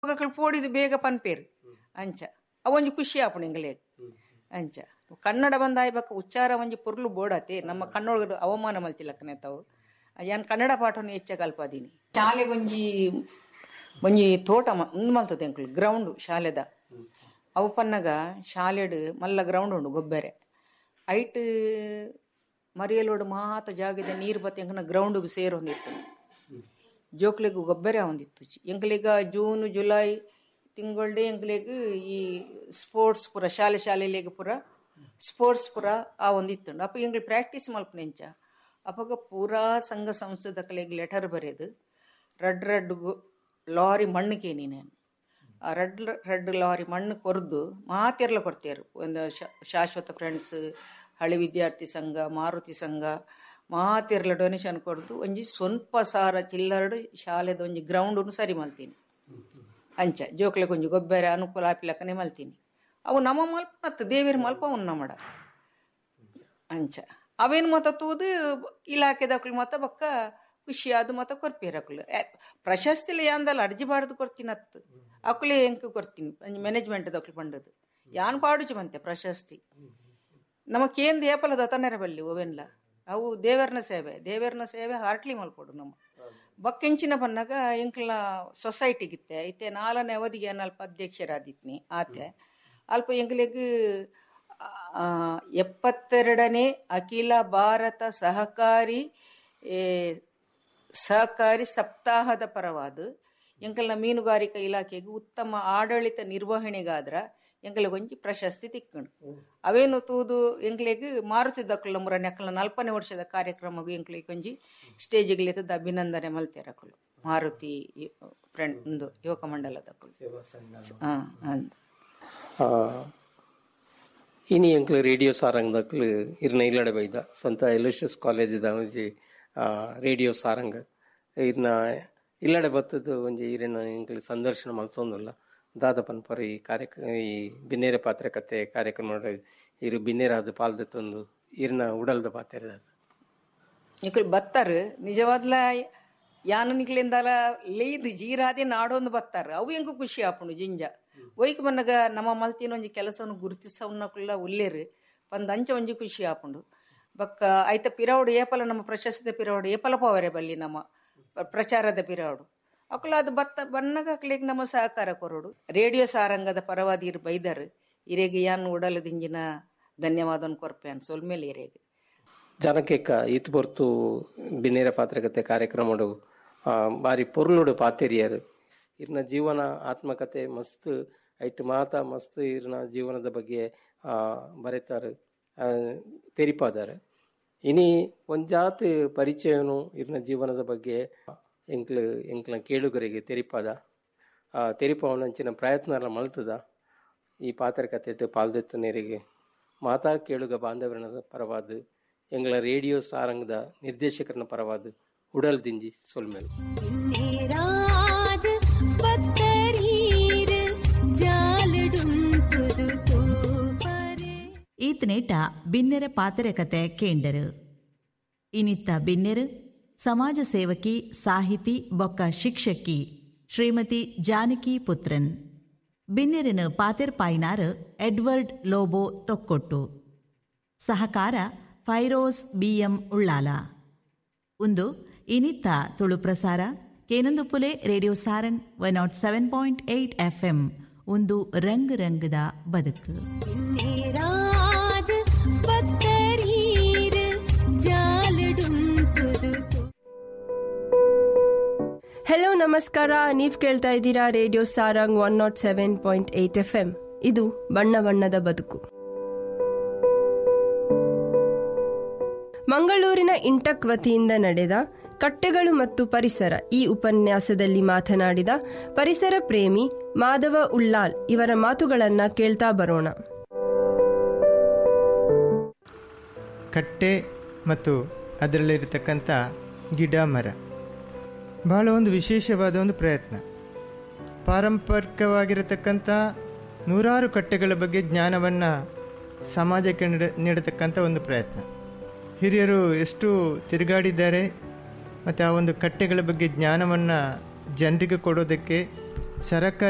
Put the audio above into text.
ಅಕುಲು ಪೋಡಿದ್ ಬೇಗ ಪನ್ಪೇರು ಅಂಚ ಅವೊಂಜಿ ಖುಷಿ ಆಪುಂಡು ಎಂಗ್ಲೆಗ್ ಅಂಚ ಕನ್ನಡ ಬಂದಾಯಿ ಬೊಕ್ಕ ಉಚ್ಚಾರ ಒಂಜಿ ಪೊರ್ಲು ಬೋಡಾತೆ ನಮ್ಮ ಕನ್ನಡ ಅವಮಾನ ಮಲ್ತಿಲಕ್ಕನೆ ತಾವು. ಯಾನ್ ಕನ್ನಡ ಪಾಠವನ್ನು ಹೆಚ್ಚ ಕಲ್ಪಾದೀನಿ. ಶಾಲೆಗೊಂಜಿ ಒಂಜಿ ತೋಟ ಉಂದು ಮಲ್ತದೆ ಎಂಕುಲು ಗ್ರೌಂಡ್ ಶಾಲೆದ. ಅವು ಪನ್ನಗ ಶಾಲೆಡ್ ಮಲ್ಲ ಗ್ರೌಂಡ್ ಉಂಡು ಗೊಬ್ಬೆರೆ ಐಟ್ ಮರಿಯಲೋಡು ಮಾತ ಜಾಗದ ನೀರು ಬತ್ತ ಎಂಕನ ಗ್ರೌಂಡ್ಗ್ ಸೇರೊಂದಿತ್ತು. ಜೋಕ್ಲೆಗ್ ಗೊಬ್ಬೆರೆ ಆವೊಂದಿತ್ತು. ಎಂಕ್ಲೆಗ ಜೂನ್ ಜುಲೈ ತಿಂಗಳ್ಡೆ ಎಂಕ್ಲೆಗ್ ಈ ಸ್ಪೋರ್ಟ್ಸ್ ಪೂರ ಶಾಲೆ ಶಾಲೆಲೆಗ್ ಪೂರ ಸ್ಪೋರ್ಟ್ಸ್ ಪೂರ ಆವೊಂದಿತ್ತುಂಡು. ಅಪ್ಪ ಎಂಕ್ಲು ಪ್ರಾಕ್ಟೀಸ್ ಮಲ್ಪುನೆಂಚ ಅಪಗ ಪೂರಾ ಸಂಘ ಸಂಸ್ಥೆದಕಲೆಗ್ ಲೆಟರ್ ಬರೆದು ರಡ್ ರಡ್ ಲಾರಿ ಮಣ್ಣು ಕೇನಿ ನಾನು. ಆ ರಡ್ ರಡ್ ಲಾರಿ ಮಣ್ಣು ಕೊರ್ದು ಮಾತೆರ್ಲ ಕೊರ್ತೆರ್. ಒಂದು ಶಾಶ್ವತ ಫ್ರೆಂಡ್ಸ್, ಹಳಿ ವಿದ್ಯಾರ್ಥಿ ಸಂಘ, ಮಾರುತಿ ಸಂಘ ಮಾತೆರ್ಲ ಡೊನೇಷನ್ ಕೊರ್ದು ಒಂಜಿ ಸ್ವಲ್ಪ ಸಾರ ಚಿಲ್ಲರಡು ಶಾಲೆದ ಒಂಜಿ ಗ್ರೌಂಡ್ ಸರಿ ಮಲ್ತೀನಿ. ಅಂಚ ಜೋಕ್ಲೆಗ್ ಒಂಜಿ ಗೊಬ್ಬರ ಅನುಕೂಲ ಆಪಿಲಕ್ಕನೆ ಮಲ್ತೀನಿ. ಅವು ನಮ್ಮ ಮಲ್ಪ ಮತ್ತು ದೇವೇರ್ ಮಲ್ಪ ಅವ್ನು ನಮ್ಮಡ ಅಂಚ ಅವೇನು ಮತ ತೂದು ಇಲಾಖೆದಕ್ಲು ಮತ ಬೊಕ್ಕ ಖುಷಿಯಾದ ಮತ ಕೊರ್ಪೇರು ಅಕುಲು. ಪ್ರಶಸ್ತಿಲ ಯಾಂದಲ್ಲ ಅರ್ಜಿ ಬಾರ್ದು ಕೊರ್ತೀನತ್ತು ಅಕುಲೇ ಎಂಕ್ ಕೊರ್ತೀನಿ ಮ್ಯಾನೇಜ್ಮೆಂಟ್ ದಕ್ಲು ಪಂಡದು ಯಾನ್ ಪಾಡುಚಿ ಬಂತೆ ಪ್ರಶಸ್ತಿ. ನಮ್ಮ ಕೇಂದ್ರ ಏಪಲ ದೊತನೆರ ಬಲ್ಲಿ ಓವೆನ್ಲ ಅವು ದೇವರ್ನ ಸೇವೆ, ದೇವರ್ನ ಸೇವೆ ಹಾರ್ಟ್ಲಿ ಮಲ್ಪೊಡು ನಮ್ಮ. ಬೊಕ್ಕೆಂಚಿನ ಪನ್ನಗ ಎಂಕ್ಲ ಸೊಸೈಟಿಗಿತ್ತೆ ಇತ್ತೆ ನಾಲ್ನೇ ಅವಧಿಗೆ ಅಲ್ಪ ಅಧ್ಯಕ್ಷರಾದಿತ್ನಿ ಆತೆ ಅಲ್ಪ ಎಂಕ್ಲೆಗ್ 72ನೇ ಅಖಿಲ ಭಾರತ ಸಹಕಾರಿ ಸಹಕಾರಿ ಸಪ್ತಾಹದ ಪರವಾದ ಎಂಕಲ್ನ ಮೀನುಗಾರಿಕಾ ಇಲಾಖೆಗೆ ಉತ್ತಮ ಆಡಳಿತ ನಿರ್ವಹಣೆಗಾದ್ರ ಎಂಕ್ಲೆಗ್ ಒಂಜಿ ಪ್ರಶಸ್ತಿ ತಿಕ್ಕಂಡು. ಅವೇನು ತೂದು ಎಂಕ್ಲೆಗ್ ಮಾರುತಿದ್ದಕ್ಕಲ್ಲ ಮುರನೆ ಅಕ್ಕಲ 40ನೇ ವರ್ಷದ ಕಾರ್ಯಕ್ರಮಗೂ ಎಂಕ್ಲೆಗ್ ಒಂಜಿ ಸ್ಟೇಜಿಗೆ ಅಭಿನಂದನೆ ಮಲ್ತೇರ ಅಕುಲು ಮಾರುತಿ ಫ್ರೆಂಡ್ ಒಂದು ಯುವಕ ಮಂಡಲದಕ್ಕಲು. ಇನಿ ಎಂಕ್ಲು ರೇಡಿಯೋ ಸಾರಂಗದಕ್ಲು ಇರ್ನ ಇಲ್ಲಡೆ ಬೈದ ಸಂತ ಎಲೋಷಿಯಸ್ ಕಾಲೇಜಿದ ಒಂಜಿ ರೇಡಿಯೋ ಸಾರಂಗ ಇರ್ನ ಇಲ್ಲಡೆ ಬತ್ತದು ಒಂಜಿ ಇರಿನ ಎಂಕ್ಲು ಸಂದರ್ಶನ ಮಲ್ತೊಂದುಲ್ಲ. ದಾದ ಪನ್ಪರ್ ಈ ಕಾರ್ಯಕ್ರಮ ಈ ಬಿನ್ನೇರ ಪಾತ್ರೆ ಕತೆ ಕಾರ್ಯಕ್ರಮ ಇರು ಬಿನ್ನೇರಾದ ಪಾಲ್ದತ್ತೊಂದು ಇರ್ನ ಉಡಲ್ದ ಪಾತ್ರೆ ನಿಕ್ಲು ಬತ್ತಾರು ನಿಜವಾದ್ಲ ಯಾನು ನಿಕ್ಲಿಂದಲ ಲೇಯ್ದು ಜೀರಾದೆ ನಾಡೊಂದು ಬತ್ತಾರ ಅವು ಎಂಕು ಖುಷಿ ಆಪುಂಡು ಜಿಂಜ ಒಯ್ಕ್ ಬನ್ನಗ ನಮ್ಮ ಮಲ್ತಿನ ಒಂಜಿ ಕೆಲಸವನ್ನು ಗುರುತಿಸವನ್ನಕುಲ್ಲ ಉಲ್ಲೇರು ಪಂದ್ ಅಂಚ ಒಂಜಿ ಖುಷಿ ಆಪುಂಡು. ಬೊಕ್ಕ ಐತ ಪಿರವಡು ಏಪಲ ನಮ್ಮ ಪ್ರಶಸ್ತಿ ಪಿರವಡು ಏಪಲ ಪೋವರೆ ಬಲ್ಲಿ ನಮ್ಮ ಪ್ರಚಾರದ ಪಿರವಡು ಅಕುಲ ಅದು ಬತ್ತ ಬನ್ನಗ ಅಕ್ಲೆಗ್ ನಮ್ಮ ಸಹಕಾರ ಕೊರಡು. ರೇಡಿಯೋ ಸಾರಂಗದ ಪರವಾದಿ ಇರು ಬೈದರು ಇರೆಗೆ ಯಾನ್ ಉಡಲದಿಂಜಿನ ಧನ್ಯವಾದನ್ ಕೊರ್ಪೆ ಸೊಲ್ಮೇಲೆ ಇರೆಗೆ. ಜನಕೇಕ ಈತ್ ಪೊರ್ತು ಬಿನ್ನೇರ ಪಾತ್ರಕತೆ ಕಾರ್ಯಕ್ರಮಡು ಬಾರಿ ಪೊರ್ಲುಡು ಪಾತೆರಿಯರು. ಇರ್ನ ಜೀವನ ಆತ್ಮಕತೆ ಮಸ್ತ್ ಐಟ್ ಮಾತ ಮಸ್ತ್ ಇರ್ನ ಜೀವನದ ಬಗ್ಗೆ ಬರೆತಾರೆ ತೆರಿಪಾದಾರೆ. ಇನಿ ಒಂಜಾತ್ ಪರಿಚಯನು ಇರ್ನ ಜೀವನದ ಬಗ್ಗೆ ಎಂಕ್ಲು ಎಂಕ್ಲ ಕೇಳುಗರಿಗೆ ತೆರಿಪಾದ ತೆರಿಪಾವನಂಚಿನ ಪ್ರಯತ್ನ ಮಲ್ತದ. ಈ ಪಾತ್ರಕತೆ ಪಾಲ್ದೆತ್ತು ನೀರಿಗೆ ಮಾತಾ ಕೇಳುಗ ಬಾಂಧವರನ ಪರವಾದ ಎಂಗಳ ರೇಡಿಯೋ ಸಾರಂಗದ ನಿರ್ದೇಶಕರನ ಪರವಾದ ಉಡಲ್ ದಿಂಜಿ ಸೊಲ್ಮೇಲ್. ಈತನೇಟ ಬಿನ್ನೆರ ಪಾತ್ರೆ ಕತೆ ಕೇಂಡರು. ಇನಿತ್ತ ಬಿನ್ನೆರು ಸಮಾಜ ಸೇವಕಿ, ಸಾಹಿತಿ ಬೊಕ್ಕ ಶಿಕ್ಷಕಿ ಶ್ರೀಮತಿ ಜಾನಕಿ ಪುತ್ರನ್. ಬಿನ್ನೆರನು ಪಾತೆರ್ ಪಾಯ್ನಾರ್ ಎಡ್ವರ್ಡ್ ಲೋಬೋ ತೊಕ್ಕೊಟ್ಟು. ಸಹಕಾರ ಫೈರೋಸ್ ಬಿಎಂ ಉಳ್ಳಾಲ. ಒಂದು ಇನಿತ್ತ ತುಳು ಪ್ರಸಾರ ಕೇನಂದುಪುಲೆ ರೇಡಿಯೋ ಸಾರಂಗ್ 107.8 FM. ಒಂದು ರಂಗ್ ರಂಗದ ಬದುಕು. ಹಲೋ, ನಮಸ್ಕಾರ. ನೀವು ಕೇಳ್ತಾ ಇದ್ದೀರಾ ರೇಡಿಯೋ ಸಾರಂಗ್ 107.8 FM. ಇದು ಬಣ್ಣ ಬಣ್ಣದ ಬದುಕು. ಮಂಗಳೂರಿನ ಇಂಟಕ್ ವತಿಯಿಂದ ನಡೆದ ಕಟ್ಟೆಗಳು ಮತ್ತು ಪರಿಸರ ಈ ಉಪನ್ಯಾಸದಲ್ಲಿ ಮಾತನಾಡಿದ ಪರಿಸರ ಪ್ರೇಮಿ ಮಾಧವ ಉಳ್ಳಾಲ್ ಇವರ ಮಾತುಗಳನ್ನು ಕೇಳ್ತಾ ಬರೋಣ. ಕಟ್ಟೆ ಮತ್ತು ಅದರಲ್ಲಿರತಕ್ಕಂಥ ಗಿಡ ಮರ ಬಹಳ ಒಂದು ವಿಶೇಷವಾದ ಒಂದು ಪ್ರಯತ್ನ. ಪಾರಂಪರಿಕವಾಗಿರತಕ್ಕಂಥ ನೂರಾರು ಕಟ್ಟೆಗಳ ಬಗ್ಗೆ ಜ್ಞಾನವನ್ನು ಸಮಾಜಕ್ಕೆ ನೀಡತಕ್ಕಂಥ ಒಂದು ಪ್ರಯತ್ನ. ಹಿರಿಯರು ಎಷ್ಟು ತಿರುಗಾಡಿದ್ದಾರೆ ಮತ್ತು ಆ ಒಂದು ಕಟ್ಟೆಗಳ ಬಗ್ಗೆ ಜ್ಞಾನವನ್ನು ಜನರಿಗೆ ಕೊಡೋದಕ್ಕೆ ಸರ್ಕಾರಕ್ಕೆ